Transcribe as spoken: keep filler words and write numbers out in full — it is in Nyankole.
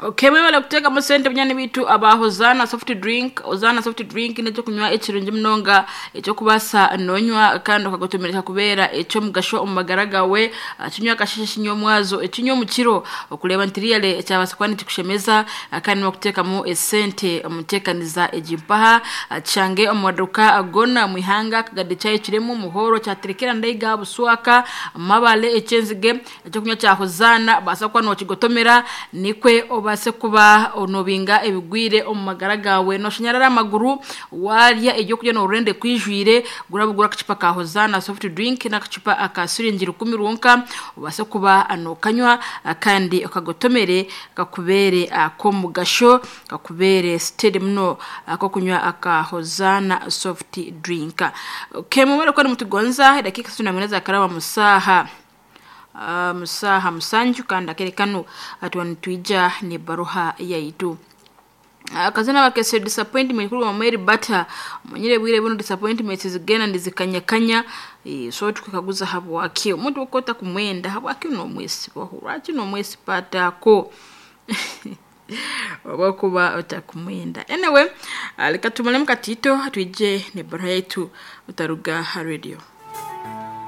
Okay, mwebale kuteekamu sente bunyani bitu aba Hozana soft drink. Hozana soft drink n'ekyokunywa ekirungi munonga ekyokubaasa nonywa kandi okagotomereka kubeera ekyomugasho omu magara gawe. Ah, kinywa akasheshe, kinywa omwazo, ekinywa omu kiro okureeba nti riyale ekyabaasa kuba nikikushemeza. ah, kandi nibakuteekamu esente omuteekaniza egi mpaha. Ah, kishange omu maduuka goona omu ihanga akagade kyayo kiremu muhoro kyaterekera ndaiga buswaka mabale ekyenzige. Ekyokunywa kya Hozana baasa kuba nokigotomera nikwe obaase kuba onobinga ebigwire omu magara gawe, noshanyarara amaguru warya ebyokurya norurende kwijwire. Gurabugura akacupa ka Hozana soft drink n'akacupa aka siringi rukumi rwonka, obaase kuba nokanywa kandi okagotomere kakubere ak'omugasho, kakubere steady muno akokunywa aka Hozana soft drink. Okay, mumare kuba nimutugonza edakiika isatu na mwenda zakaraba musaha uh, musaha musanju kandi akere kano atuwa nitwija nebaruha yaitu. Akazina bakese disappointment kuri Mweri Bata manyire bwire buno disappointment zigenda ndizikanyakanya. e, so tukakaguza habwaki omuntu okota kumwenda, habwaki nomwesibaho, lwaki nomwesipatako oba kuba otakumwenda. Anyway, ah, leka tumalemu katito twije nebaruha yaitu utaruga ha radio.